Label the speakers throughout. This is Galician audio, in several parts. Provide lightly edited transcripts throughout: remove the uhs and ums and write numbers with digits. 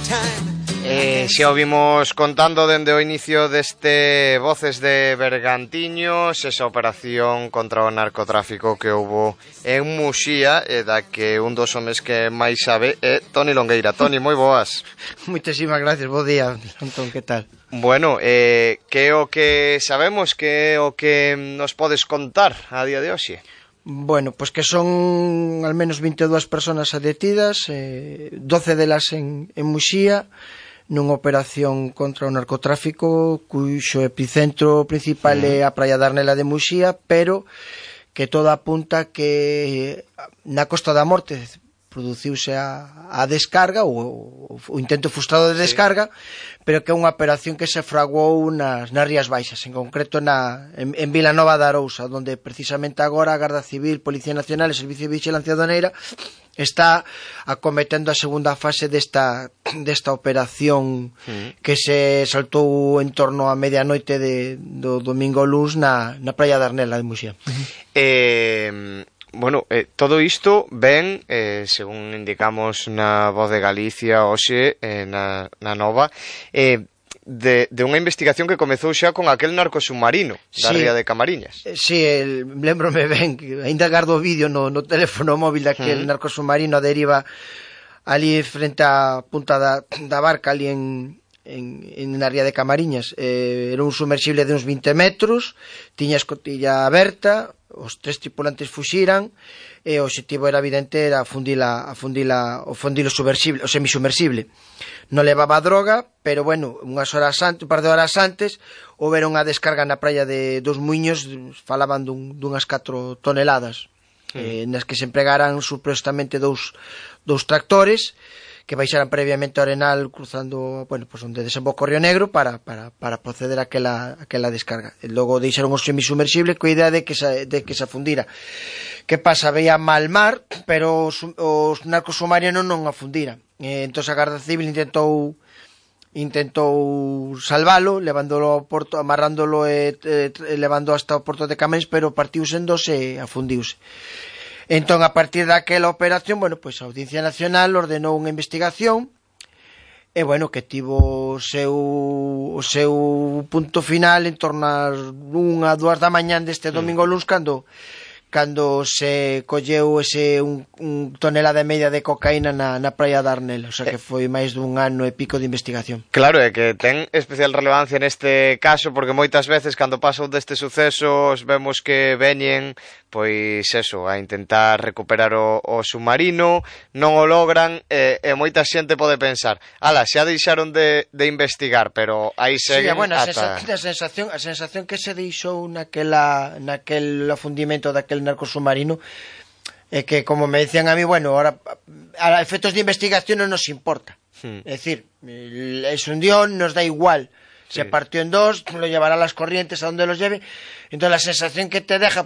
Speaker 1: Xa o vimos contando dende o inicio deste Voces de Bergantiños, esa operación contra o narcotráfico que houbo en Muxía, e da que un dos homes que máis sabe é Toni Longueira. Toni, moi boas.
Speaker 2: Moitísimas gracias, bo día, Antón, que tal?
Speaker 1: Bueno, que é o que sabemos, que é o que nos podes contar a día de hoxe?
Speaker 2: Bueno, pois que son al menos 22 personas detidas, 12 delas en Muxía, nunha operación contra o narcotráfico cuxo epicentro principal é a Praia da Arnela de Muxía, pero que todo apunta que na Costa da Morte produciuse a descarga, o intento frustrado de descarga, pero que é unha operación que se fraguou nas Rías Baixas, en concreto en Vilanova de Arousa, onde precisamente agora a Garda Civil, Policía Nacional e Servicio de Vigilancia Aduaneira está acometendo a segunda fase desta operación que se saltou en torno a medianoite do domingo luns na Praia da Arnela de Muxía.
Speaker 1: Bueno, todo isto ven, según indicamos na Voz de Galicia hoxe, na Nova, de unha investigación que comezou xa con aquel narcosubmarino da ría de Camariñas.
Speaker 2: Sí, lembrome ben, que ainda gardo o vídeo no teléfono móvil daquel narcosubmarino a deriva ali frente á punta da barca ali na ría de Camariñas. Era un sumersible de uns 20 metros, tiña a escotilla aberta, os tres tripulantes fuxiran e o objetivo era evidente, era o semisumersible. Non levaba droga, pero bueno, un par de horas antes houberon unha descarga na praia de dos Muiños, falaban dunhas 4 toneladas, nas que se empregaran supostamente dous tractores que baixaran previamente ao Arenal cruzando, bueno, pues onde desemboca o Río Negro para proceder a aquela descarga. E logo deixaron o semisumersible coa idea de que se afundira. Que pasa? Veía mal mar, pero os narcosubmarinos non afundiran. Entón a Garda Civil intentou salvalo, levándolo ao porto, amarrándolo e levando hasta o porto de Camariñas, pero partiuse en dos e afundiuse. Entón, a partir daquela operación, bueno, pois a Audiencia Nacional ordenou unha investigación e, bueno, que tivo o seu punto final en torno ás 1 a 2 da mañán deste domingo luns, cando se colleu un tonelada e media de cocaína na praia da Arnela, o sea que foi máis dun ano e pico de investigación.
Speaker 1: Claro, é que ten especial relevancia neste caso, porque moitas veces cando pasan destes sucesos vemos que veñen, pois eso, a intentar recuperar o submarino, non o logran, e moita xente pode pensar, xa deixaron de investigar, pero aí seguen.
Speaker 2: Sí, bueno, a sensación que se deixou naquel afundimento daquel narcosubmarino é que, como me decían a mí, bueno, ahora a efectos de investigación non nos importa. É dicir, se hundió, nos da igual. Se partió en dos, lo llevará a las corrientes a donde los lleve. Entonces la sensación que te deja,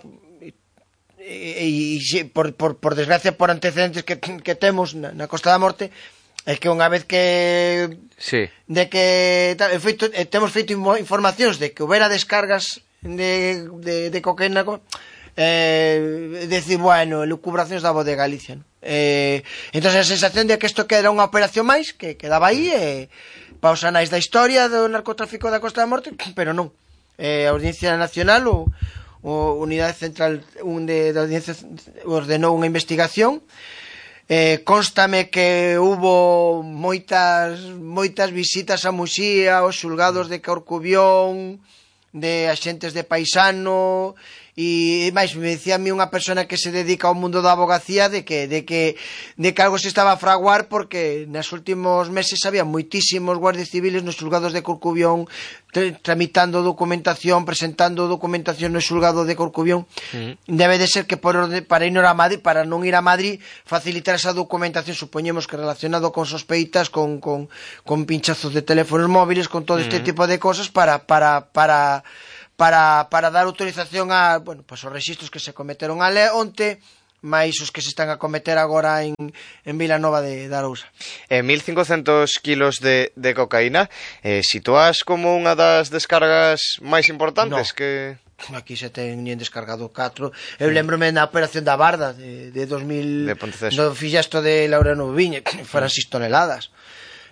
Speaker 2: por desgracia, por antecedentes que temos na Costa da Morte, é que unha vez que temos feito informacións de que houbera descargas de cocaína, decir, bueno, lucubracións da Voz de Galicia, ¿no? Entón a sensación de que isto que era unha operación máis que quedaba aí para os anais da historia do narcotráfico da Costa da Morte, pero non. A Audiencia Nacional o Unidade Central da Audiencia ordenou unha investigación. Constame que hubo moitas visitas a Muxía, aos xulgados de Corcubión, de axentes de paisano, e máis, me decía a mí unha persona que se dedica ao mundo da abogacía de que algo se estaba a fraguar, porque nos últimos meses había moitísimos guardias civiles nos xulgados de Corcubión tramitando documentación, presentando documentación no xulgado de Corcubión. Debe de ser que para non ir a Madrid facilitar esa documentación, supoñemos que relacionado con sospeitas, con pinchazos de teléfonos móviles, con todo este tipo de cosas para dar autorización a, bueno, pues os rexistros que se cometeron onte, máis os que se están a cometer agora en Vilanova de Arousa.
Speaker 1: 1.500 kilos de cocaína, situas como unha das descargas máis importantes?
Speaker 2: No. Aquí se teñen descargado 4. Eu lembrome na operación da Barda de 2000, do fixasto de Laureano Viña, que foran 6 toneladas.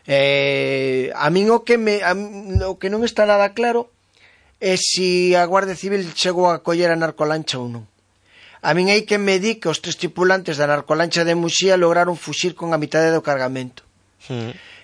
Speaker 2: A min o que non está nada claro é se a Guardia Civil chegou a coller a narcolancha ou non. A min hai que me di que os 3 tripulantes da narcolancha de Muxía lograron fuxir con a mitade do cargamento.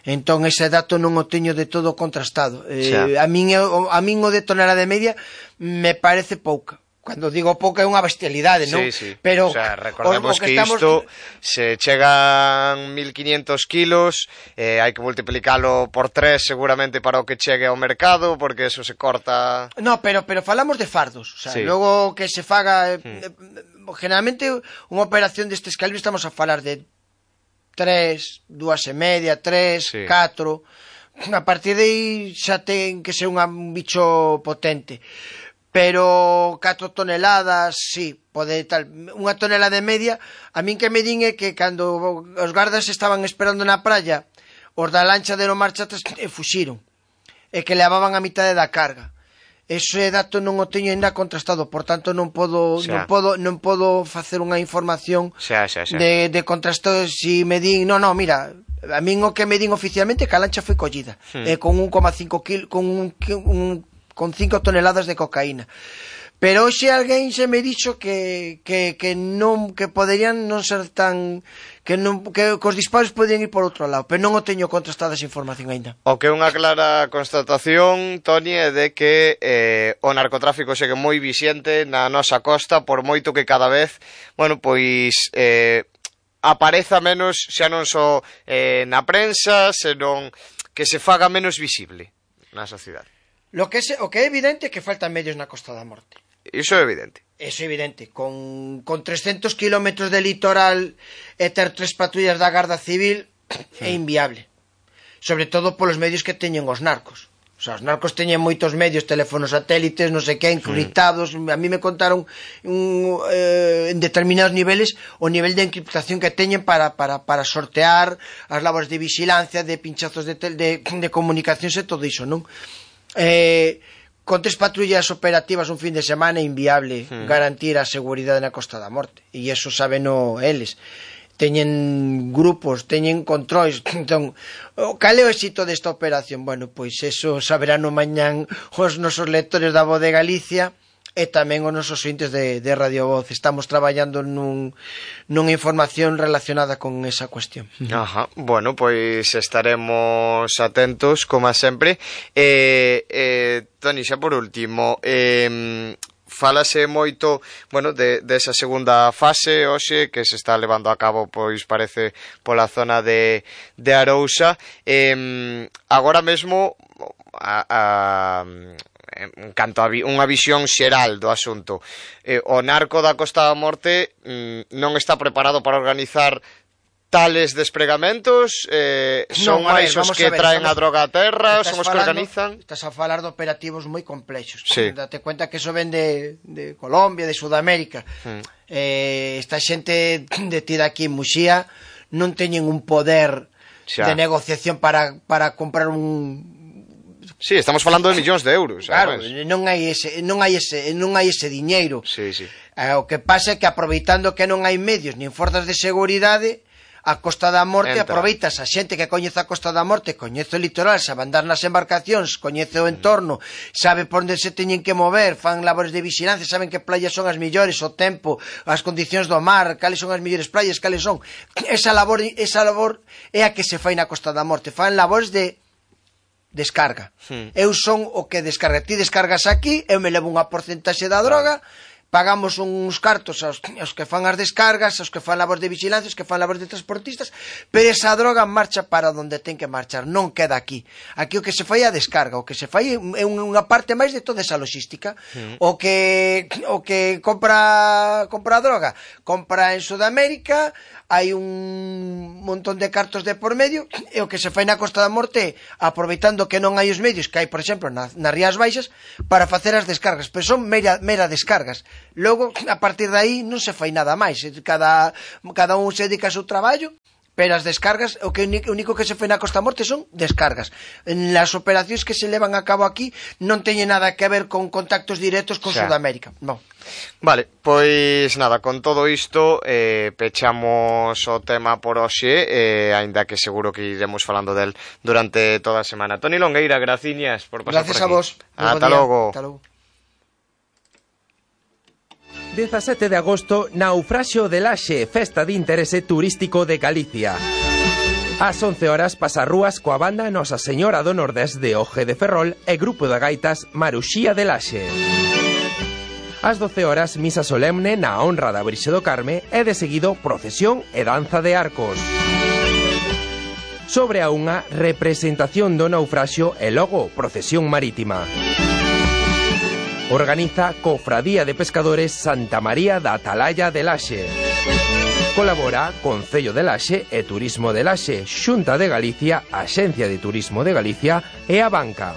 Speaker 2: Entón ese dato non o teño de todo contrastado. A min o de tonelada de media me parece pouca. Cando digo pouca é unha bestialidade, non?
Speaker 1: Sí.
Speaker 2: Pero,
Speaker 1: o sea, recordemos que isto se chegan 1500 kilos, hai que multiplicalo por 3 seguramente para o que chegue ao mercado, porque eso se corta...
Speaker 2: No, pero falamos de fardos, o sea, logo que se faga... Generalmente unha operación destes calibres estamos a falar de 3, 2,5, 3, 4... A partir de aí xa ten que ser un bicho potente. Pero 4 toneladas, sí, pode tal. Unha tonelada e media, a min que me din é que cando os gardas estaban esperando na praia, os da lancha deron marcha atrás e fuxiron. E que levaban a mitade da carga. Ese dato non o teño ainda contrastado, por tanto non podo facer unha información de contrasto. Si me din, no, mira, a min o que me din oficialmente que a lancha foi collida, con 1,5 kg, con 5 toneladas de cocaína. Pero hoxe alguén se me dixo que poderían non ser tan... que os disparos podían ir por outro lado, pero non o teño contrastada esa información aínda.
Speaker 1: O que é unha clara constatación, Toni, é de que o narcotráfico segue moi vixente na nosa costa, por moito que cada vez, bueno, pois... apareza menos, xa non só na prensa, senón que se faga menos visible na sociedade.
Speaker 2: O que é evidente é que faltan medios na Costa da Morte.
Speaker 1: Iso é evidente.
Speaker 2: Eso é evidente. Con 300 kilómetros de litoral e ter 3 patrullas da Garda Civil é inviable. Sobre todo polos medios que teñen os narcos. O sea, os narcos teñen moitos medios, teléfonos satélites, non sei que, encriptados. A mí me contaron en determinados niveles o nivel de encriptación que teñen para sortear as labores de vigilancia, de pinchazos de comunicacións e todo iso, non? Con 3 patrullas operativas un fin de semana é inviable garantir a seguridade na Costa da Morte, e iso sabeno eles. Teñen grupos, teñen controis. Entón, cal é o éxito desta operación? Bueno, pois eso saberán no mañán os nosos lectores da Voz de Galicia e tamén os nosos ointes de Radio Voz. Estamos traballando nunha información relacionada con esa cuestión.
Speaker 1: Ajá, bueno, pois estaremos atentos, como sempre. Toni, xa por último, falase moito, bueno, desa segunda fase hoxe que se está levando a cabo, pois parece pola zona de Arousa. Agora mesmo en canto a unha visión xeral do asunto, o narco da Costa da Morte non está preparado para organizar tales despregamentos, son máis os que traen a droga a terra, son os que organizan.
Speaker 2: Estás a falar de operativos moi complexos.
Speaker 1: Sí.
Speaker 2: Date cuenta que eso ven de Colombia, de Sudamérica. Esta xente detida aquí en Muxía non teñen un poder de negociación para comprar un...
Speaker 1: Sí, estamos falando de millóns de euros.
Speaker 2: Claro, non hai ese diñeiro.
Speaker 1: Sí.
Speaker 2: O que pasa é que aproveitando que non hai medios nin forzas de seguridade, a Costa da Morte aproveitas a xente que coñece a Costa da Morte, coñece o litoral, sabe andar nas embarcacións, coñece o entorno, sabe por onde se teñen que mover, fan labores de vigilancia, saben que playas son as millores, o tempo, as condicións do mar, cales son as millores playas, cales son. Esa labor é a que se fai na Costa da Morte, fan labores de descarga. Eu son o que descarga. Ti descargas aquí, eu me levo unha porcentaxe da droga, pagamos uns cartos aos que fan as descargas, aos que fan labores de vigilancia, aos que fan labores de transportistas, pero esa droga marcha para onde ten que marchar, non queda aquí. Aquí o que se fai é a descarga, o que se fai é unha parte máis de toda esa logística. O que compra a droga, compra en Sudamérica, hai un montón de cartos de por medio, e o que se fai na Costa da Morte, aproveitando que non hai os medios que hai, por exemplo, nas Rías Baixas, para facer as descargas, pero son mera descargas. Logo, a partir de aí, non se fai nada máis. Cada un se dedica ao seu traballo, pero as descargas, o único que se fai na Costa Morte son descargas. En las operacións que se levan a cabo aquí non teñen nada que ver con contactos directos con Sudamérica, non.
Speaker 1: Vale, pois nada, con todo isto pechamos o tema por hoxe, aínda que seguro que iremos falando del durante toda a semana. Toni Longueira, graciñas por pasar
Speaker 2: Gracias
Speaker 1: por aquí.
Speaker 2: Gracias a vos.
Speaker 1: Ata logo.
Speaker 3: 17 de agosto, Naufraxio de Laxe, festa de interese turístico de Galicia. Ás 11 horas pasarrúas coa banda Nosa Señora do Nordés de Oje de Ferrol e grupo de gaitas Maruxía de Laxe. Ás 12 horas, misa solemne na honra da Virxe do Carme e de seguido procesión e danza de arcos. Sobre a unha, representación do naufraxio e logo procesión marítima. Organiza Cofradía de Pescadores Santa María da Atalaya de Laxe. Colabora Concello de Laxe e Turismo de Laxe, Xunta de Galicia, Axencia de Turismo de Galicia e a Banca.